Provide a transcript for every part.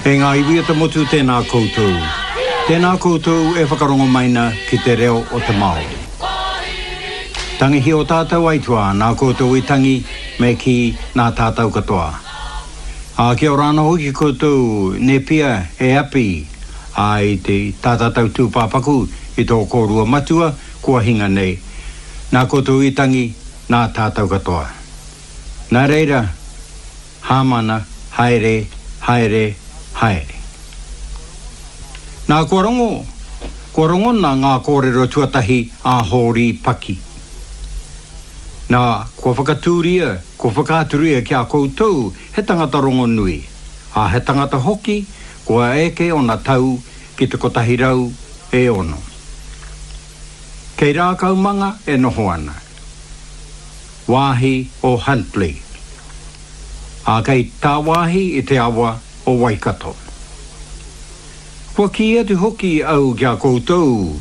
E ngā iwi o te motu tēnā koutou. Tēnā koutou e whakarongo mai na ki te reo o te Māori. Tangihia o tātou aituā nā koutou i tangi me kī nā tātou katoa. Ā, kia ora anō hoki koutou Nepia e Api, ā, i te tā tātou tūpāpaku i tō kōrua matua kua hinga nei. Nā koutou i tangi, nā tātou katoa. Nā reira, Hāmana, haere, haere, haere. Nā, kua rongo, kua rongona ngā kōrero tuatahi a Hōri Paki. Nā, kua whakatūria, kua whakaaturia ki a koutou he tangata rongonui, ā, he tangata hoki kua eke ōna tau ki te 106. Kei Rākaumanga e noho ana. Wāhi o Huntly, ā, kei tāwāhi i te awa o Waikato. Kua kī atu hoki au ki a koutou,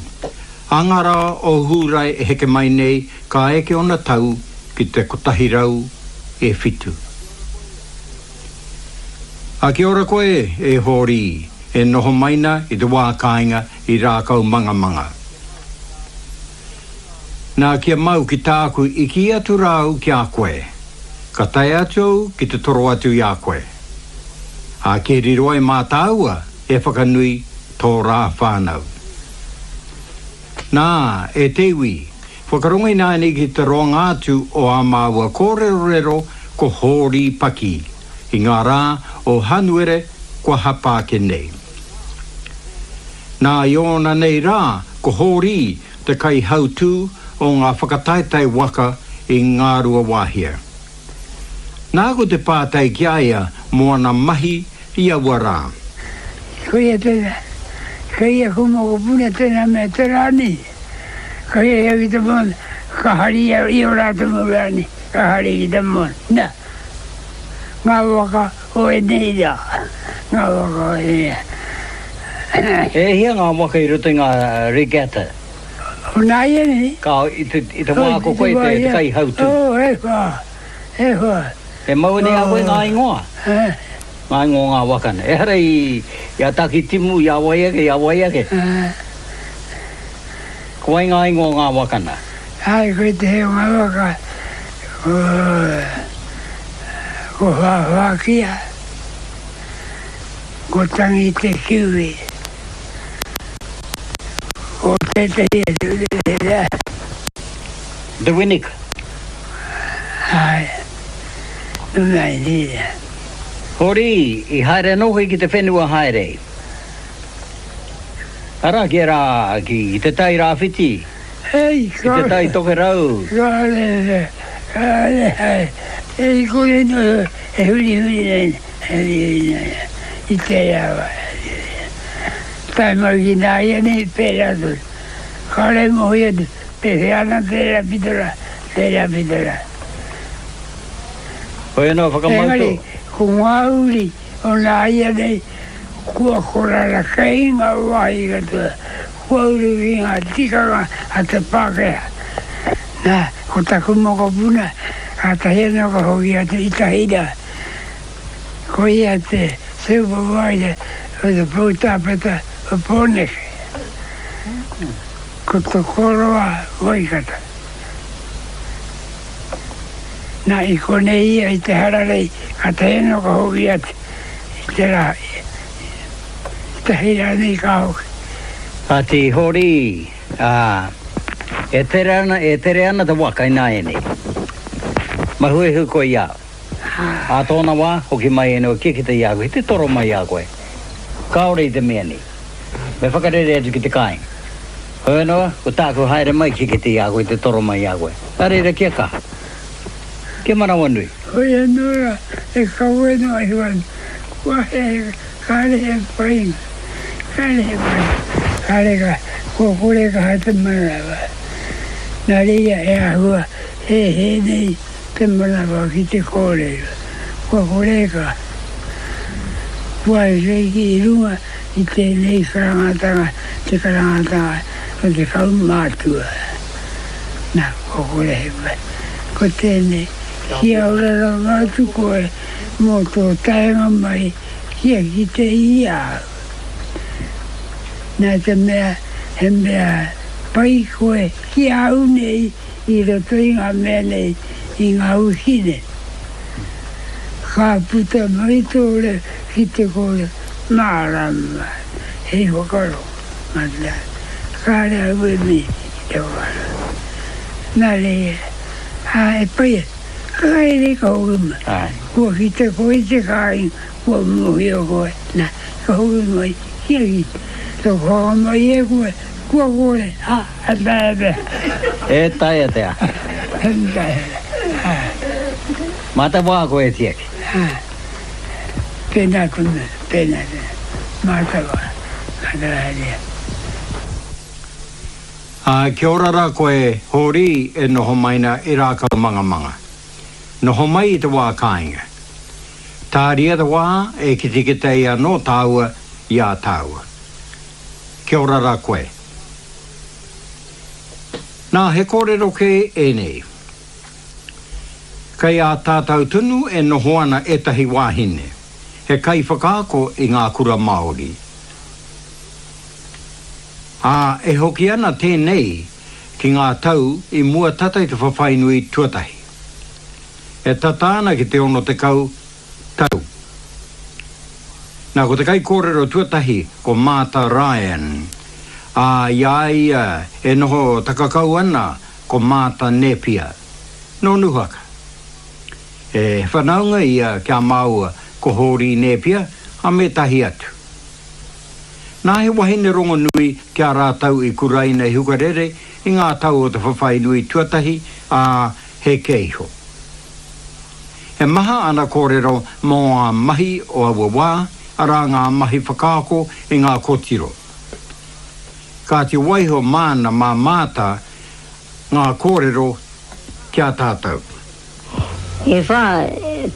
ā ngā rā o Hūrae e heke mai nei ka eke ōna tau ki te 107. Ā, kia ora koe, e Hōri, e noho mai na i te wā kāinga i Rākaumangamanga. Nā, kia mau ki tāku i kī atu rā au ki a koe, ka tae atu au ki te toro atu i a koe. Ā, kia riro ai mā tāua e whakanui tō rā whānau. Nā, e te iwi, whakarongo ināianei ki te roanga atu o ā māua kōrerorero ko Hōri Paki i ngā rā o Hanuere kua hapa ake nei. Nā, i ōna nei rā, ko Hōri te kaihautū o ngā whakataetae waka i Ngāruawāhia. Nāku te pātai ki a ia mō ana mahi i aua rā. Koia tēnā, kei aku mokopuna tēnā mea te rānei. Ka hiahia ki te moana, ka hari ia i ō rātou mau rānei, ka hari ki te moana. Nā, ngā waka o ēnei rā, ngā waka o ēnei rā. E hia ngā waka i roto i ngā regatta? O nāianei? Ka, i te, i te wā ko koe te, te kaihautū. Oh, e whā, e whā. E mau nei a koe ngā ingoa? Eh. Ngā ingoa o ngā waka nei. Ehara i, i a Takitimu, i a wai ake, i a wai ake. Eh. Ko wai ngā ingoa o ngā waka nā? Ai, koe te hei o ngā waka, ko, ko Whāwhākia. Ko Tangi te Kiwi. Ko tētehi atu reira. The Winnick. Āe. Nō reira. Hori, i haere anō koe ki te whenua haere. Arā, ki ērā, ki te Tai Rāwhiti. Hei, Ki te Tai Tokerau. Kāre, kāre, e kore noa e hurihuri nei. I tērā wā, tae mai ki nāianei, pērā tonu. Kāore e mōhio atu, pēwhea ana tērā pito rā, tērā pito rā. Hoi anō whakamau tō. Engari, ko ngā uri o nāianei, kua korara kei ngā wāhi katoa, kua uru ki ngā tikanga a te Pākehā. Nā, ko taku mokopuna, kātahi anō ka hoki atu i Tahira. Ko ia te supervisor o te poutāpeta o Pōneke. Ko Tokoroa Waikato. Nā, i konei ia i te hararei, kātahi anō ka hoki atu i te rā, i tahi rānei ka hoki. Kāti Hori, ā, e tere ana, e tere ana te waka ināianei. Mahuehu koe i a au. Ā tōna wā, hoki mai ēnei kia kite i a koe, te toro mai i a koe. Kāore i te mea nei. Me whakarere atu ki te kāinga. Hoi anō, ko tāku haere mai kia kite i a koe, te toro mai i a koe. Nā reira, kia kaha. Kia manawanui. Hoi anō rā, e kawe noa iho ana, kua he, kāre he painga, kāre he painga, kāre ka, kua kore kaha te manawa. Nā reira e āhua hēhē nei Te manawa ki te kōrero, kua kore ka whai i runga i tēnei karangatanga, te karangatanga o te kaumātua. Nā, kua kore he pai. Ko tēnei, kia ora rawa atu koe mō tō taenga mai ki. kia kite i a au. Nā te mea he mea pai koe ki a au nei i roto i ngā mea nei, i ngā wiki nei. Ka puta mai tō reo ki te kore mārama hei whakarongo, mata, kāre au e mihi ki te whakarongo. Nā reira, ā, e pai ana. Ka haere ka hoki mai. Kua kite koe i te kāinga, kua mōhio koe, nā, ka hoki mai, kia kite. Ka whakamai e koe, kua kore, ā, e taea te aha. E taea te aha. E taea te aha. Mā te wā koe e tiaki. Ā, tēnā te mea, tēnā te mea. Mā te wā, mā te wā e. Ā, kia ora rā koe, Hōri, e noho mai na i Rākaumangamanga. Noho mai i te wā kāinga. Tāria te wā e kitekite ai anō tāua i a tāua. Kia ora rā koe. Nā, he kōrero kē ēnei. Kei a tātau tonu e noho ana ētahi wāhine, he kaiwhakaako i ngā kura Māori. Ā, e hoki ana tēnei ki ngā tau i mua tata i te whawhai nui tuatahi. E tata ana ki te 60 tau. Nā, ko te kaikōrero tuatahi ko Maata Ryan, ā, i a ia e noho takakau ana ko Maata Nēpia, nō Nūhaka. He whanaunga ia ki a māua ko Hōri Nēpia, ā, me ētahi atu. Nā he wahine rongonui ki a rātou i kuraina i Hukarere i ngā tau o te whawhai nui tuatahi, ā, heke iho. He maha ana kōrero mō ngā mahi o aua wā, arā ngā mahi whakaako i ngā kōtiro. Kāti waiho māna mā Maata ngā kōrero ki a tātou. E whā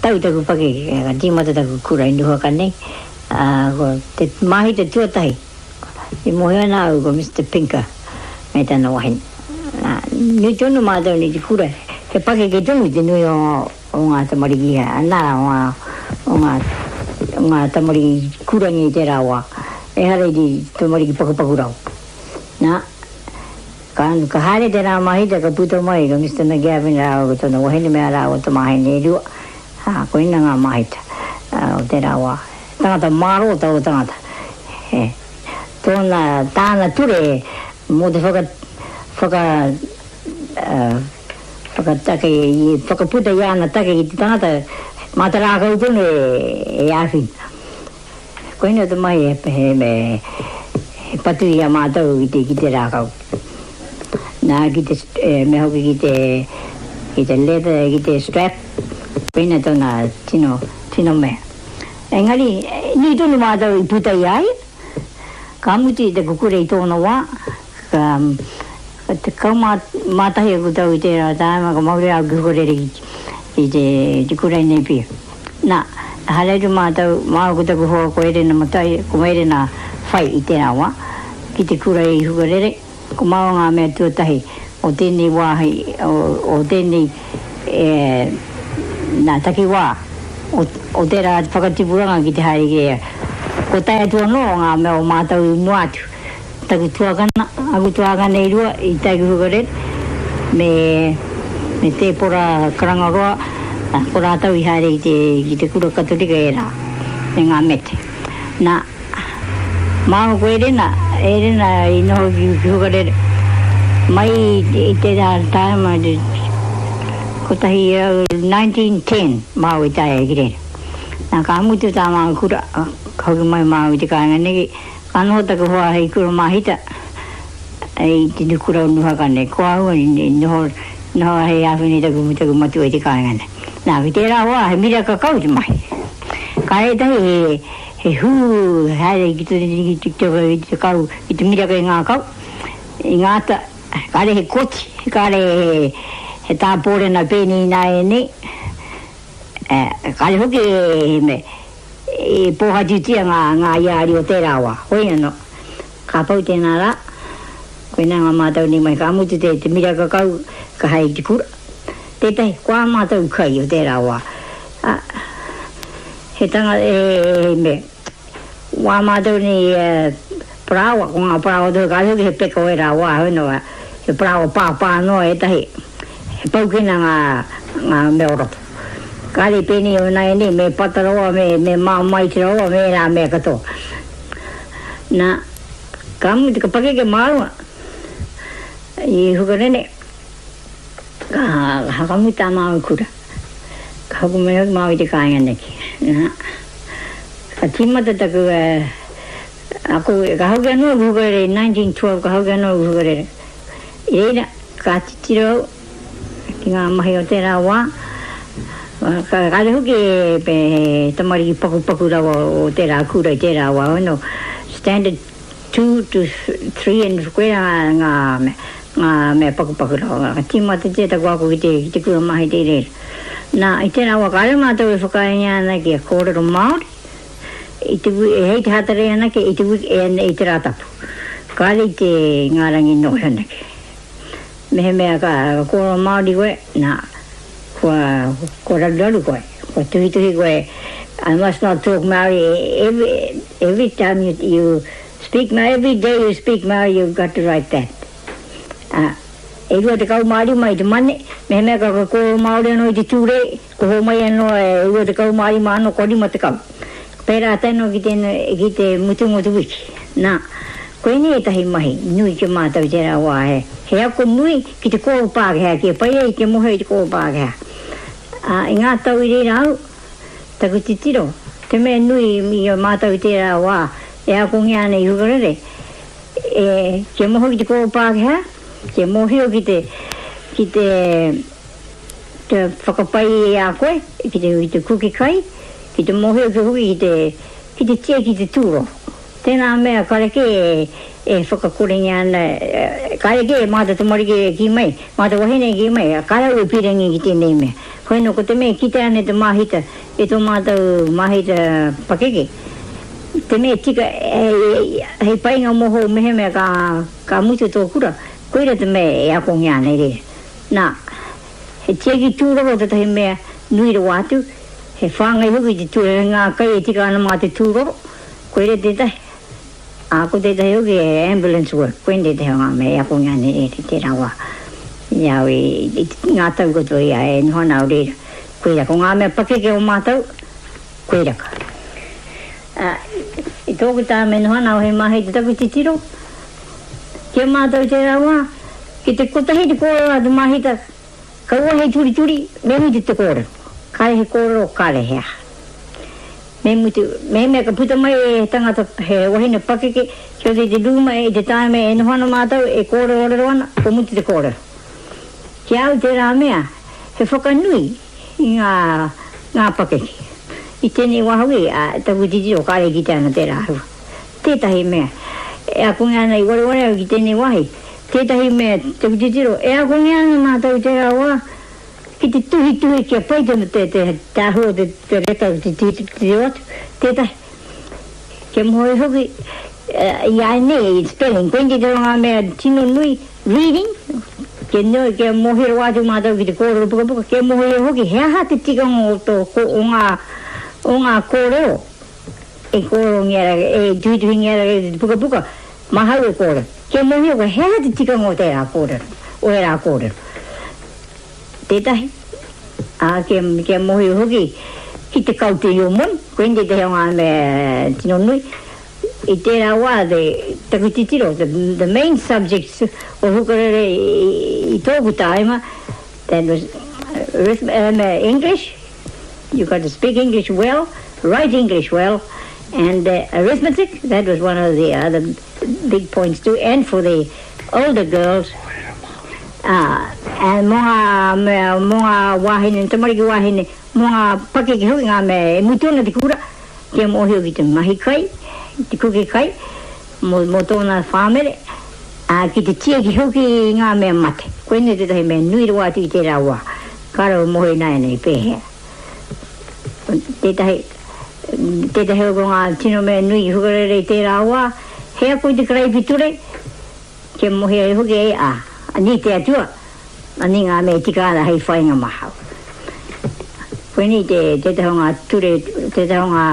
tau taku pakeke ka tīmata taku kura i Nuhaka nei, ā, ko te māhita tuatahi i mōhio ana au ko Mister Pinker me tana wahine. Nā, nui tonu mātou nei te kura, he pakeke tonu te nui o, o ngā tamariki, nā, o ngā, o ngā, o ngā tamariki kurangi i tērā wā, ehara i te tamariki pakupaku rawa. Nā. Ka, ka haere te rā mahita ka puta mai ko Mister McGavin rāua ko tōna wahine me ā rāua tamāhine e rua, ā, koina ngā mahita o tērā wā. Tangata mārō taua tangata. He, tōna, tāna ture mō te whaka, whaka, whakatake, whakaputa i āna take ki te tangata, mā te rākau tonu e, e āwhina. Koina te mahi he patu i a mātou ki te rākau. Nā, ki te, mea hoki ki te, ki te leather, ki te strap, koina tōna tino, tino mea. Engari, nui tonu mātou i puta i a ia, ka mutu i te kukure i tōna wā, ka, 11 aku tau i tērā tāima ka mauria au ki Hukarere ki te, te kura i Napier. Nā, haere atu mātou, māua ko taku hoa ko Erena Matai, ko Erena Whai i tērā wā, ki te kura i Hukarere, ko māua ngā mea tuatahi o tēnei wāhi, o, o tēnei, e, nā, takiwā o, o tērā whakatipuranga ki te haere ki reira. Kua tae atu anō ngā mea o mātou i mua atu. Taku tuakana, aku tuākana e rua i tae ki Hukarere, me, me Tēpora Karangaroa, ko rātou i haere ki te, ki te kura Katorika ērā, me ngā mete. Nā, māua ko Erena, Erena i noho ki, ki Hukarere, mai i, i tērā tāima, te, kotahi, 1910 māua i tae ai ki reira. Nā, ka mutu tā māua kura, ka hoki mai māua i te kāinga nei, Ka noho taku hoa hei kura māhita i te nukura o Nuhaka nei. Ko ahau i noho, noho hei āwhina i taku, taku matua i te kāinga nei. Nā, ki tērā wā, he miraka kau te mahi. Ka ētahi he, he hū haere ki te, ki te, ki te kau, ki te miraka i ngā kau, i ngā ata, kāre he koti, kāre he, he tāpōrena pēnei ināianei, kāre hoki he mea. I pōhatutia ngā, ngā iāri o tērā wā. Hoi anō, ka pau tēnā rā, koinā ngā mātau nei mai, ka mutu te, te miraka kau, ka haere ki te kura. Tētahi, ko ā mātou kai o tērā wā, ā, he tanga, he, he mea. Wā mātou nei parāoa, ko ngā parāoa tonu kāre hoki he peka o ērā wā, heoi anō, he parāoa pāpā noa ētahi, he paukena ngā, ngā mea o roto. Kāre i pēnei o nāianei, me pata rawa, me, me māmaiti rawa, me ērā mea katoa. Nā, ka mutu, ka pakeke māua i Hukarere, ka whakamutu tā māua kura. Ka hoki mai hoki māua i te kāinga neki. Nā, ka tīmata taku ako, ka hoki anō aku hukarere i 1912, ka hoki anō aku hukarere. I reira, ka titiro au ki ngā mahi o tērā wā, ka kāre hoki he tamariki pakupaku rawa o tērā kura i tērā wā, no, standard 2 to 3 and koirā ngā mea, ngā mea pakupaku rawa. Ka tīmatatia taku ako ki te, ki te kura mahi i reira. Nā, i tērā wā kāre mātou e whakaaengia ana kia kōrero Māori, i te, hei te Hātarei anake, i te, i te Rātapu. Kāre i te ngā rangi noho anake. Mehemea ka kōrero Māori koe, nā, kua, kua raruraru koe, kua tuhituhi koe, I must not talk Māori every, every time you, you speak Māori, every day you speak Māori you've got to write that. Ā, e 25 i te Mane, mehemea ka kōrero Māori anō i te Tūrei, ko hōmai anō e 25 anō, kua 50. Pērā tēnō ki te, ki te mutunga o te wiki. Nā, koinei ētahi mahi nui ki a mātou i tērā wā, he, he ako nui ki te kōrero Pākehā, kia pai ai kia mōhio i te kōrero Pākehā. Ā, i ngā tau i reira au, taku titiro, te mea nui i a mātou i tērā wā e akongia ana i Hukarere, e, kia mōhio ki te kōrero Pākehā, kia mōhio ki te, ki te, te whakapai i a koe, ki te, ki te kuki kai, Ki te mōhio ki hoki ki te, ki te tiaki te tūroro. Tēnā mea karekē e whakakorengia ana, karekē mā te tamariki e kī mai, mā te wahine e kī mai, kāre au e pīrangi ki tēnei mea. Hoi nō ko te mea e kitea ana e te māhita, e tō mātou māhita pakeke, te mea tika hei painga mōhou mehemea ka, ka mutu tō kura, koira te mea e akongia ana i reira. Nā, he tiaki tūroro tētahi mea nui rawa atu, He whāngai hoki te ture me ngā kai e tika ana mā te tūroro, koira tētahi, ā, ko tētahi hoki he ambulance work, koinei tētahi o ngā mea e akongia ana e tērā wā i a au i ngā tau katoa i a e noho ana au reira. Koira, ko ngā mea pakeke o mātou, koira ka. Ā, i tōku tāme e noho ana au hei mahi te taku titiro, ki a mātou tērā wā, ki te kotahi te kōrero a te māhita, Kaua hei turituri, me mutu te kōrero. Kāre he kōrero, kāre he aha. Me mutu, mehemea ka puta mai he tangata, he wahine pakeke, ki roto i te rūma i te tāime e noho ana mātou, e kōrerorero ana, kua mutu te kōrero. Ki a au tērā mea, he whakanui i ngā, ngā pakeke. I tēnei wā hoki, a, taku titiro kāre e kitea ana tērā āhua. Tētahi mea, e akongia ana i wareware au ki tēnei wāhi, tētahi mea, taku titiro, e akongia ana mātou i tērā wā ki te tuhituhi kia pai te, te, te, te āhua o te, te reta o te titiro atu, tētahi, kia mōhio hoki, i a nei, spelling, koinei te ngā mea tino nui, reading, kia nui, kia mōhio rawa atu mātou ki te kōrero pukapuka, kia mōhio hoki he aha te tikanga o tō, o ngā, o ngā kōrero. E kōrerongia ra, e tuhituhingia ra te pukapuka, mahau e kōrero. Kia mōhio koe, he aha te tikanga o tērā kōrero, o ērā kōrero. Tētahi, ā, kia, kia mōhio hoki ki te kaute i ō moni, koinei tētahi o ngā mea tino nui. I tērā wā, te, taku titiro, the, the main subjects o Hukarere i, i tōku tāima, that was English, You got to speak English well, write English well, and uh, arithmetic, that was one of the other big points too, and for the older girls, uh, and mō ngā mea, mō ngā wāhine, tamariki wāhine, mō ngā pakeke hoki ngā mea e mutu ana te kura, kia mōhio ki te mahi kai, te kuke kai, mō, mō tōna whāmere, ā, ki te tiaki hoki i ngā mea mate. Koinei tētahi mea nui rawa atu i tērā wā. Ka rau moe ināianei pēhea? Tētahi, tētahi o ngā tino mea nui i hukarere i tērā wā, he ako i te karaipiture, kia mohi ai hoki e a, ani te Atua, ani ngā mea e tika ana hei whainga mahau. Koinei te, tētahi o ngā ture, tētahi o ngā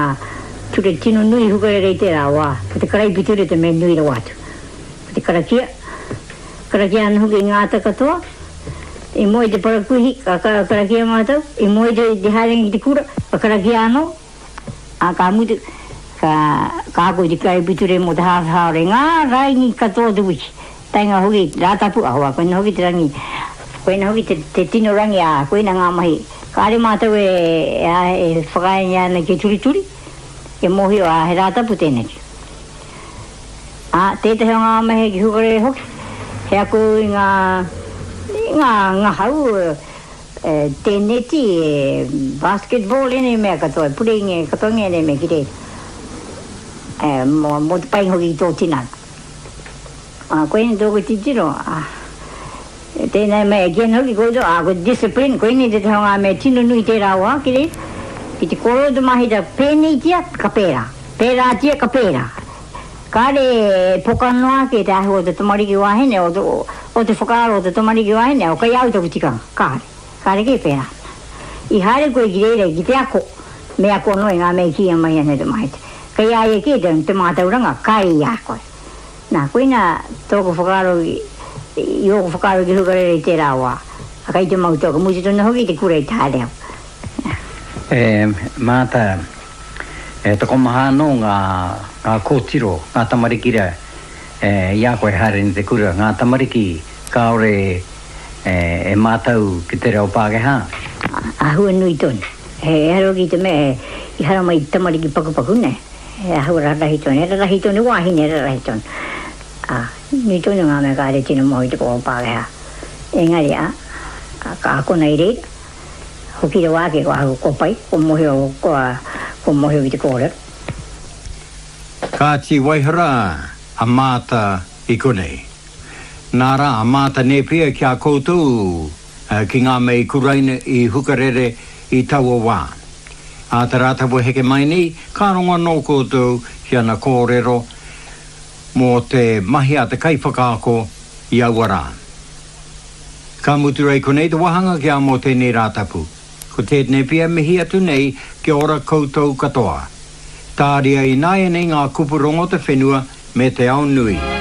ture tino nui i Hukarere i tērā wā, ko te karaipiture te mea nui rawa atu. Ko te karakia, karakia ana hoki i ngā ata katoa, i moe i te parakuihi, ka karakia mātou, i moe i te haerenga ki te kura, ka karakia anō, ā, ka mutu, ka, ka ako i te karaipiture mō te hāwhe hāora i ngā raini katoa o te wiki. Taenga hoki, Rātapu, ahakoa koina hoki te rangi, koina hoki te, te tino rangi, ā, koina ngā mahi. Kāre mātou e, e, e whakaaengia ana kia turituri, kia mōhio, ā, he Rātapu tēneki. Ā, tētahi o ngā mahi ki Hukarere hoki, he ako i ngā, i ngā ngahau, e, tēneti, e, basketball, ēnei mea katoa, e pureingia katoa ngēnei mea ki reira. E, mō, mō te pai hoki ki tō tinana. Ā, koinei tōku titiro, ā, tēnei mea e kī ana hoki koutou, ā, ko te discipline, koinei tētahi o ngā mea tino nui tērā wā ki reira, ki te kōrero te māhita, pēneitia, ka pērā, pērātia, ka pērā. Kāre e poka noa ake te āhua o te tamariki wāhine, o te, o te whakaaro o te tamariki wāhine, o kei a au taku tikanga, kāre, kāre kē pērā. I haere koe ki reira ki te ako, me ako anō i ngā mea i kīia mai ana e te māhita. Kei a ia kē te, te mātauranga, kai i a koe. Nā, koina tōku whakaaro i ōku whakaaro ki Hukarere i tērā wā. A kei te mau tōku mutu tonu hoki te kura i te haere au. E Maata, e tokomaha anō ngā, ngā kōtiro, ngā tamariki rā, e, i a koe haere nei te kura, ngā tamariki kāore e, e mātau ki te reo Pākehā. Āhua nui tonu. He ehara hoki i te mea i haramai te tamariki pakupaku nei. He āhua rarahi tonu, he rarahi tonu, wāhine rarahi tonu. Ā, nui tonu ngā mea kāre tino moe i te kōrero Pākehā. Engari, ā, ka akona i reira, hoki rawa ake ko ahau kua pai, kua mōhio, kua, kua mōhio ki te kōrero. Kāti Waihara a Maata i konei. Nā rā a Maata Nēpia ki a koutou ki ngā mea i kuraina i Hukarere i taua wā. Ā te Rātapu heke mai nei, ka rongo anō koutou ki ana kōrero mō te mahi a te kaiwhakaako i aua rā. Ka mutu rei konei te wāhanga ki a mō tēnei Rātapu. Ko tēnei pia mihi atu nei kia ora koutou katoa. Tāria ināianei ngā kupu rongo te whenua me te ao nui.